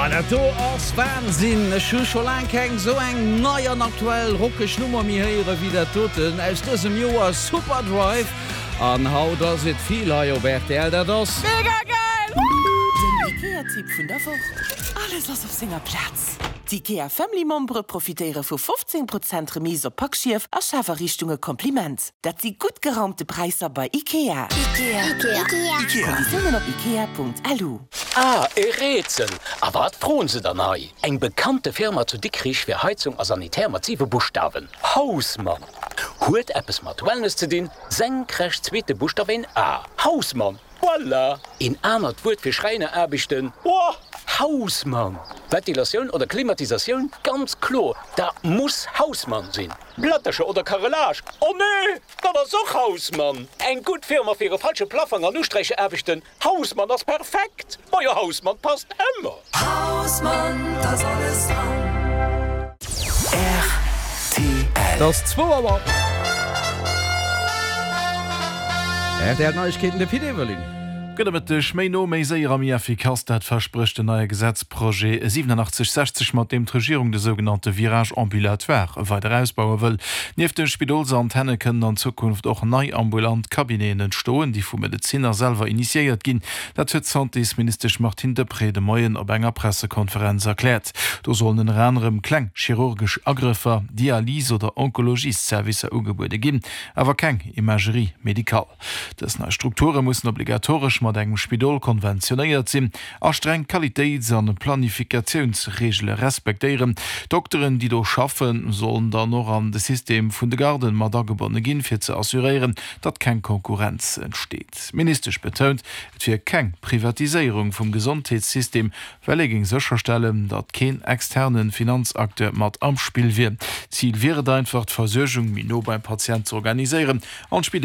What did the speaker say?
Oh, dat do ass Wahnsinn! Ech hu scho laang keng sou eng nei an aktuell rockeg Nummer méi héiere wéi dat doten aus dësem Joer, Superdrive. An haut ass et vill hei op rtl, dat ass. Mega geil! Den IKEA-Tipp vun der Woch, Alles ass op senger Plaz! D'IKEA Family Membere profitéiere vu 15 Prozent Remise op Packschief a Schafariichtunge Kompliment! Dat si gutt geraumte Präisser bei IKEA! Konditiounen op ikea.lu. Ah, e Rätsel! A wat froen se dann hei? Eng bekannte Firma zu Dikrich fir Heizung a Sanitär mat siwe Buschtawen, Hausmann! Huet eppes mat Wellness ze dinn, senkrecht zweete Buschtaf een A, Hausmann! Voilà! Een anert Wuert fir Schräineraarbechten, oh, Hausmann! Ventilatioun oder Klimatisatioun, ganz kloer, dat muss Hausmann sinn! Plättercher oder Carrelage, oh nee, dat ass och Hausmann! Eng gutt Firma fir e falsche Plaffang an Usträicheraarbechten, Hausmann ass perfekt! Majo Hausmann passt ëmmer! Hausmann, t'ass alles dran. Rtl. T'ass zwou Auer. Rtl Neiegkeeten, de Pit Everling. Gudde Mëtteg. Méi no, méi séier a méi effikass, dat versprécht den neie Gesetzprojet 8760, mat deem d'Regierung de sougenannte Virage ambulatoire weider ausbaue wëll. Nieft de Spidolsantenne kënnen an Zukunft och nei ambulant Cabineten entstoen, déi vu Medezinner selwer initiéiert ginn. Dat huet d'Santésministesch Martine Deprez de Moien op enger Pressekonferenz erkläert. Do sollen ënner anerem kleng chirurgesch Agrëffer, Dialys oder Onkologiesservicer ugebuede ginn, awer keng Imagerie médicale. Dës nei Strukture mussen obligatoresch mat engem Spidol konventionéiert sinn a streng Qualitéits an Planifikatiounsreegele respektéieren. D'Dokteren, déi do schaffen, sollen dann och an de System vun de Garden mat agebonne ginn, fir ze assuréieren, datt keng Konkurrenz entsteet. D'Ministesch betount, et wier keng Privatiséierung vum Gesondheetssystem, well ee géing sécherstellen, datt keen externe Finanzacteur mat am Spill wier. Zil wier et einfach, d'Versuergung méi no beim Patient z'organiséieren an d'Spideeler.